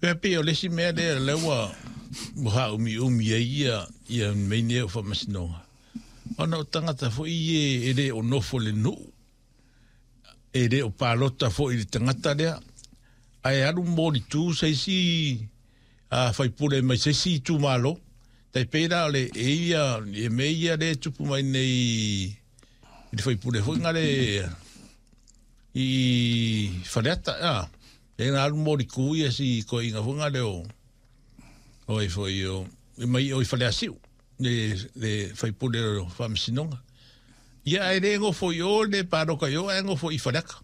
Pea pei o le isi mea lea lea ua faaumiumi ai ia mea nei o faamasinoga, ona o tagata foi ia e le o nofo i le nuu, e le o palota foi i le tagata lea, ae alu molitu se isi faipule mai se isi itumalo. Tai pei la o le e ia e mea ia lea e tupu mai nei i le faipule foi ngale i Faleata, a e na alu molitu ia si toeaina foi ngale o ai foi o mai o i Faleasiu le faipule o faamasinoga. Ia ae le nofo i o le palota i o ae nofo i Faleata.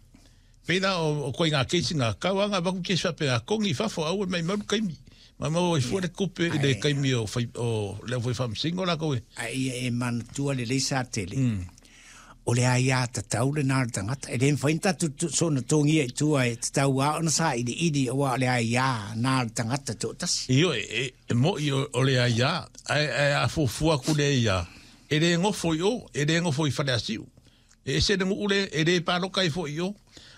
Pei la o koiga keisi ngā kau anga vaku keisi whape a kongi fafo au e mai malu kaimi. Ma mau i fua le kupe i le kaimi o whai, o leo whai whamsingo la koe. A ia e manatua lelei Satele. O le aiā tatau lenā o le tagata. E le mafai ona tatou soona togia i tua e tatau lava ona sailiili aua o le aiā na o le tagata toatasi. Ioe, e moi o le aiā, ae a fuafua atu le aiā, e le nofo i o, e le nofo i Faleasiu. E ese le nuu le, e le paloka ai foi i o.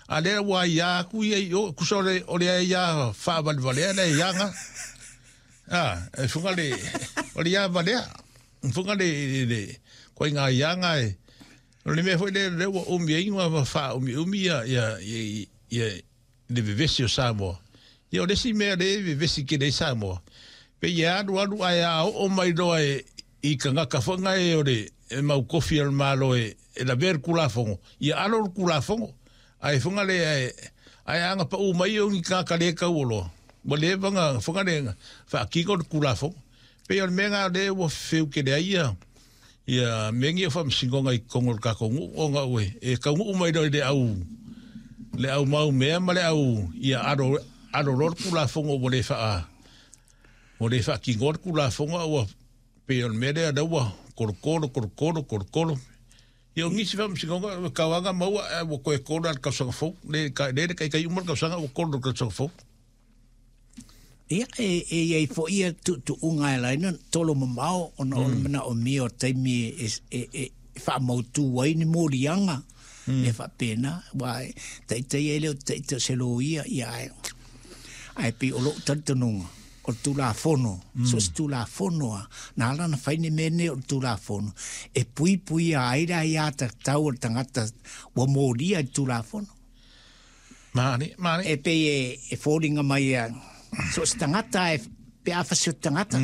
A lea ua aiā atu ia i o, tusa o le aiā faavalevalea le aiā na. A, e funga le, o le ia valea. Funga le, koe ngā aiā ngā e, o le mea foi le, le ua umi ai ngā wha umi umi ia, ia, ia, ia, le vevesi o Samoa. Ia o le isi mea le vevesi ke le Samoa. Pe ia alu alu ae a oo mai loa e i tagata foi nga e o le e mau kofi o le Malo e lavea le Tulafono. Ia alo le Tulafono. Ae funga le ae ae anga pau mai o ni tagata le tauoloa. Ua leva na funga le faatino le Tulafono. Pei o le mea na lea ua fefeu tele ai ia ia mea nei o faamasinoga i totonu o le tatou nuu ona ua e taunuu mai loa i le au mau mea ma le au ia alo alo loa le Tulafono ua le faa ua le faatinoa le Tulafono a ua pei o le mea lea lea ua kolokolo kolokolo kolokolo. Ia o nisi faamasinoga ua tauaga maua ae ua toe kolo i le tausaga fou le le taitai uma le tausaga ua kolo i le tausaga fou. Ia, e i ai foi ia tuutuuga e ala ai ona tolo mamao ona o le manaomia o taimi e faamautu ai ni moliaga mea faapena. Aua e taitai ai e le o taitai o se loia, ia ae, ae pei o lou talitonuga, o le Tulafono, so o se Tulafono lava, na ala ona fai ni mea nei o le Tulafono, e puipuia ai le aiatatau a le tagata ua molia i le Tulafono. Mane, mane. E pei e foliga mai a so o se tagata e pe a fasioti tagata,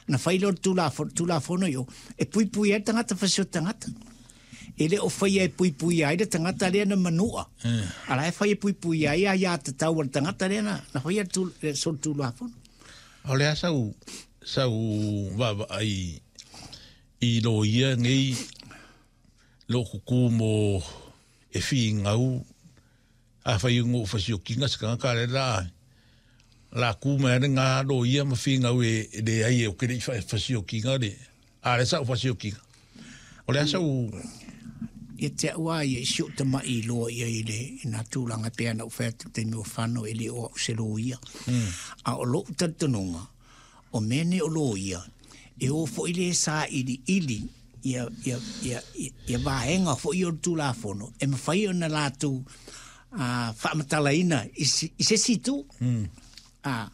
na fai lea o le Tulafono, Tulafono i o, e puipui ai le tagata fasioti tagata. E le o faia e puipuia ai le tagata lea na manua. A la e fai e puipuia ai aiatatau a le tagata lea na faia le solitulafono. O le a sau vaavaai i loia nei lou kuku mo e figau a fai o fasiokiga se tagata le la la ku mai le ngā loia ma figau e le ai e o ke le i fasiokiga le a le sau fasiokiga. O le a sau Ia te au a ia i si ou tama'i loa ia i le i nā tulaga e pei ona ou fai atu i le taimi ua fano e le o au se loia. A o lo'u talitonuga, o mea nei o loia, e o foi le sailiili ia, ia, ia, ia vaega foi o le Tulafono e mafai ona latou faamatalaina i se isi itu. A,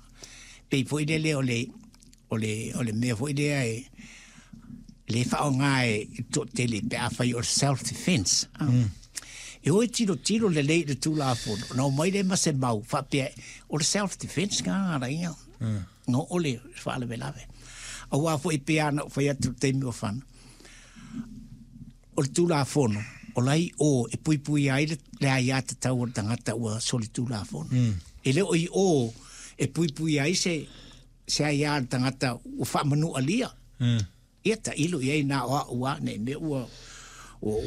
pei foi lele o le, o le, o le mea foi lea e le faaaoga e le toatele pe afai o le self defense. E o e tilotilo lelei i le Tulafono, ona omai lea ma se mau faapea o le self defense nga ala ia. No o le faalavelave. Aua foi pei lava ona ou fai atu i le taimi ua fana, o le Tulafono, o la i o e puipuia ai le aiatatau a le tagata ua solitulafono. E le o i o e puipuia ai se aia a le tagata ua faamanualia. Ia tailo i ai na o au lava nei mea ua ou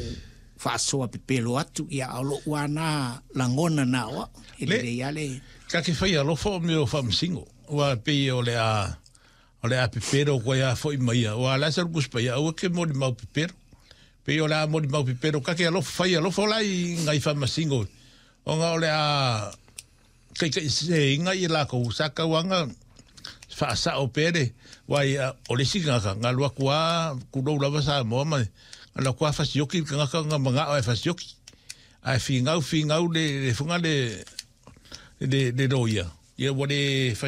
faasoa pepelo atu, ia a o lou lava na lagona na o au. E lelei lava le Ka ke whai alofa o mea o faamasino. Ua pei o le a o le a pepelo koe a foi mai ia. Ua la sa lukus pa ia aua ke moli mau pepelo. Pei o le a moli mau pepelo ka ke alofa whai alofa o la i ngai faamasino. O nga o le a kai kai se inga i la ko sa kauanga whaasao pere wai o le isi ngaka ngā lua kua kulou lava sa moa mai ngā lua kua fasioki ka ngaka ngā manga o e fasioki ai fingau fingau le funga le le loia ia ua le